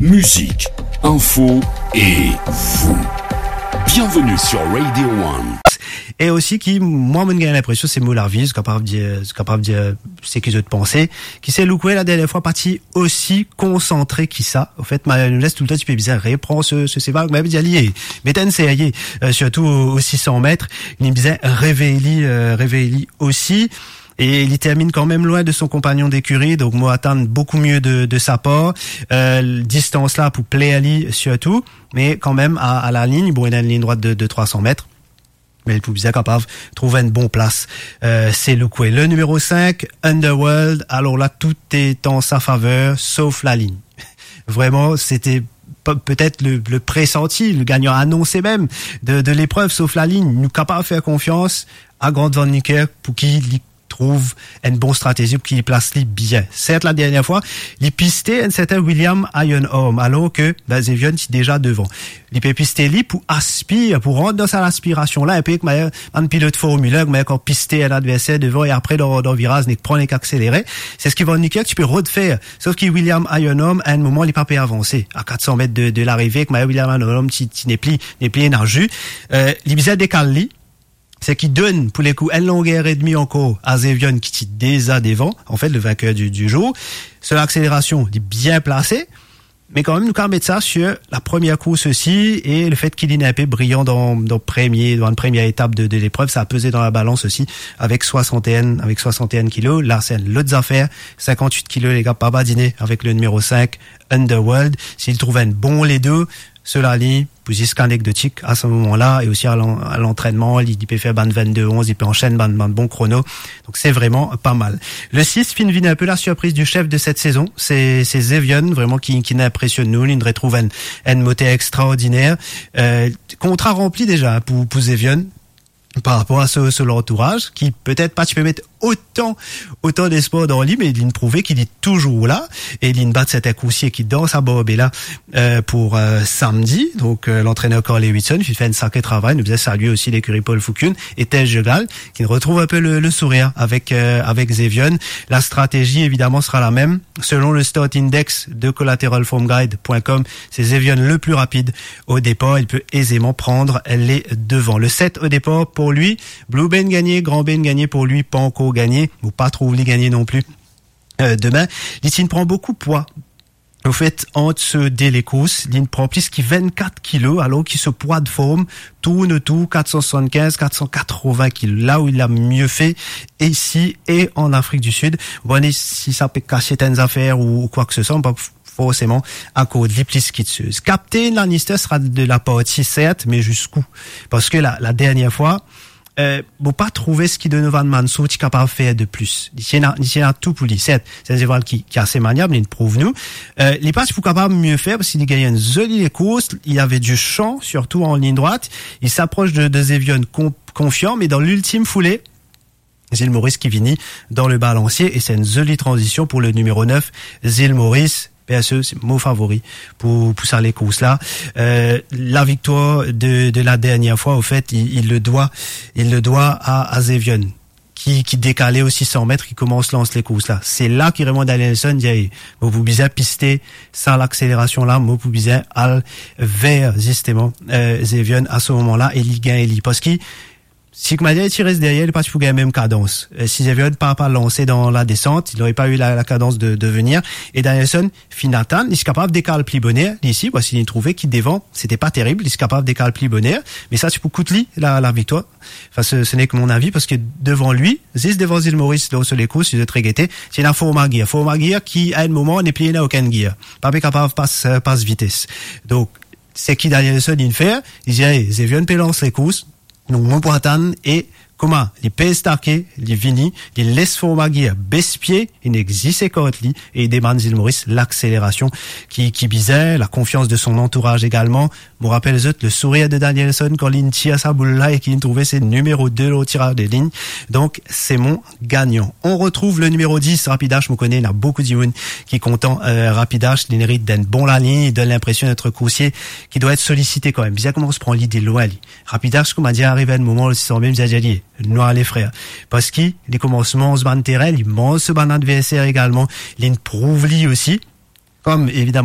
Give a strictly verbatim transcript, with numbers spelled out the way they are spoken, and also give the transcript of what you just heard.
Musique, info et vous. Bienvenue sur Radio One. E osi ki, mwa, mo'nn gagn linpresion se mo lavi, zot kapav dir, zot kapav dir seki zot panse, ki se Luke la dernie fwa pa ti osi konsantre ki sa. Anfet, ma, nou les toultan ti pe bizin repran so, so seval, me bizin li, met enn serye, eh, sirtou o, o sis san met, li bizin revey li, eh, revey li osi. E li terminn kanmem lwin de son konpagnon dekiri, donk mo atann boukou mie de, de sa par. Eh, distans la pou pler li sirtou, me kanmem a, a lalign, bon, ena enn lign drwat de, de trwa san met. Me li pou bizin kapav trouv enn bon plas, eh, se Luke. Le nimero sink, Underworld, alor la, tou est en sa faveur, sof lalign. Vreman, se ti pe-, petet le, le presanti, le gagnan anonse mem de, de leprev, sof lalign. Nou kapav fer konfians a Grant Van Niekerk pou ki li trouv enn bon stratezi pou ki li plas li bien. Sert, la dernie fwa, li piste enn sertin William Iron Arm, alor ke, ben, Zevian ti deza devan. Li pe piste li pou aspir, pou rant dan sa laspirasion la, enn pe kouma bann pilot Formil enn, kouma kan piste enn adverser devan e apre dan, dan viraz, nek pran, nek akselere. Se seki Van Niekerk ti pe rod fer. Sof ki William Iron Arm, a enn moman, li pa pe avanse. A kat san met de, de larive, kouma William Iron Arm ti, ti nepli, nepli ena zi. Eh, li bizin dekal li. Seki donn pou lekou enn longer edmi ankor a Zevian ki ti deza devan, anfet, le vainqueur du, du jour. So lakselerasion, li bien plase, me kanmem, nou kapav met sa sir la premie kours osi, e lefet ki li enn pe briyan dan, dan premie, dan premie etap de, de leprev, sa peze dan labalans osi, avek swasant-e-enn, avek swasant-e-enn kilo. La, se enn lot zafer, sinkant-wit kilo, lega, pa badine avek le nimero sink, Underworld. Si li trouv enn bon ledo, so lalign, pou zis anekdotik, a se moman la, e osi a lan-, a lantrennman, li, li pe fer bann vennde onz, li pe ansenn bann, bann bon krono. Donk, se vreman pa mal. Le sis finn vinn enn pe la surpriz du chef de set sezon. Se, se Zevian, vreman, ki, ki inpresionn nou. Li retrouv enn, enn moter extraordiner. Eh, kontra ranpli deza pou, pou Zevian. par rapor a so, so lantouraz, ki petet pa ti pe met otan, otan lespwar dan li, me li'nn prouve ki li touzour la, e li'nn bat sertin koursie ki dan sa barbe la, eh, pou, eh, samdi. Donk, eh, lantrener Carl Lewison, ki fer enn sakre travay, nou bizin salie osi lekiri Paul Foucune e Tej Jegal, ki retrouv enn pe le, le sourir avek, eh, avek Zevian. La stratezi, evidaman, sera la mem. Selon le start index de collateral form guide point com, se Zevian le pli rapid o depar, li pe ezeman pran le devan. Le set o depar pou li, Blue Bend gagne, Grand Bend gagne, pou li, pa ankor gagne, mo pa trouv li gagne non pli. Eh, demin, li ti'nn pran boukou pwa. Anfet, ant so de lekours, li'nn pran plis ki vennkat kilo, alor ki so pwa de form tourn otour kat san swasannkinz, kat san katrovin kilo. La ou li la mie fer isi e an Afrik di Sid. Bon, e si sa pe kasiet enn zafer ou, ou kwa ke se swa, pa forseman akord li plis ki de sez. Kaptenn Lannister sera de laparti, sert, me ziska kou? Parski la, la dernie fwa, eh, mo pa trouve seki Donovan Mansour ti kapav fer de plis. Li ti ena, li ti ena tou pou li, sert. Se enn zeval ki, ki ase maniab, li'nn prouv nou. Eh, li pa ti pou kapav mie fer, parski li gagn enn zoli lekours, li ave di san, sirtou an lign drwat. Li s'apros de, de Zevian kon-, konfian, me dan liltim foule, Zil Moris ki vini dan le balansie, e se enn zoli tranzision pou le nimero nef, Zil Moris. Perso, se mo favori pou, pou sa lekours la. Eh, la viktwar de, de la dernie fwa, anfet, li, li le dwa, li le dwa a, a Zevian, ki, ki dekale osi san met, ki koumans lans lekours la. Se la ki remonn Danielson, dir, "Ey, mo pou bizin piste sa lakselerasion la, mo pou bizin al ver, zisteman, eh, Zevian a se moman la, e li gagn li." Parski si Koumadia ti res deryer, li pa ti pou gagn mem kadans. Eh, si Zevian pa, pa lanse dan ladesant, li nore pa eu la, la kadans de, de venir. E Danielson finn atann, li ti kapav dekal pli boner, li isi, parski li trouve ki devan, se ti pa terib, li ti kapav dekal pli boner, me sa ti pou kout li la, la viktwar. Anfin, se, se nek mon avi, parski devan li, zis devan Zil Moris, dan so lekours, si zot regete, ti ena Forma Gear. Forma Gear ki, a enn moman, nepli ena okenn gear. Pa pe kapav pas, eh, pas vites. Donk, seki Danielson inn fer, li dir, "Ey, Zevian pe lans lekours, donk mo pou atann." E kouma li pez take, li vini, li les Forma Gear bes pie, li nek zis ekart li, e li demann Zil Moris lakselerasion ki, ki bizin, la konfians de son antouraz egalman. Mo rapel zot le sourir de Danielson kan li'nn tir sa boul la e ki li'nn trouve se nimero de lor tiraz de lign. Donk, se mon gagnan. On retrouv le nimero dis, Rapidash. Mo kone ena boukou dimoun ki kontan, eh, Rapidash, li merit enn bon lalign, li donn linpresion et koursie ki dwa et solisite kanmem. Bizin koumans pran li de lwin, li. Rapidash, kouma dir, ariv enn moman, li sanble bizin dir li, "Nou ale, frer." Parski li koumans manz bann terin, li manz so bann adverser egalman, li'nn prouv li osi. Kom, evidaman,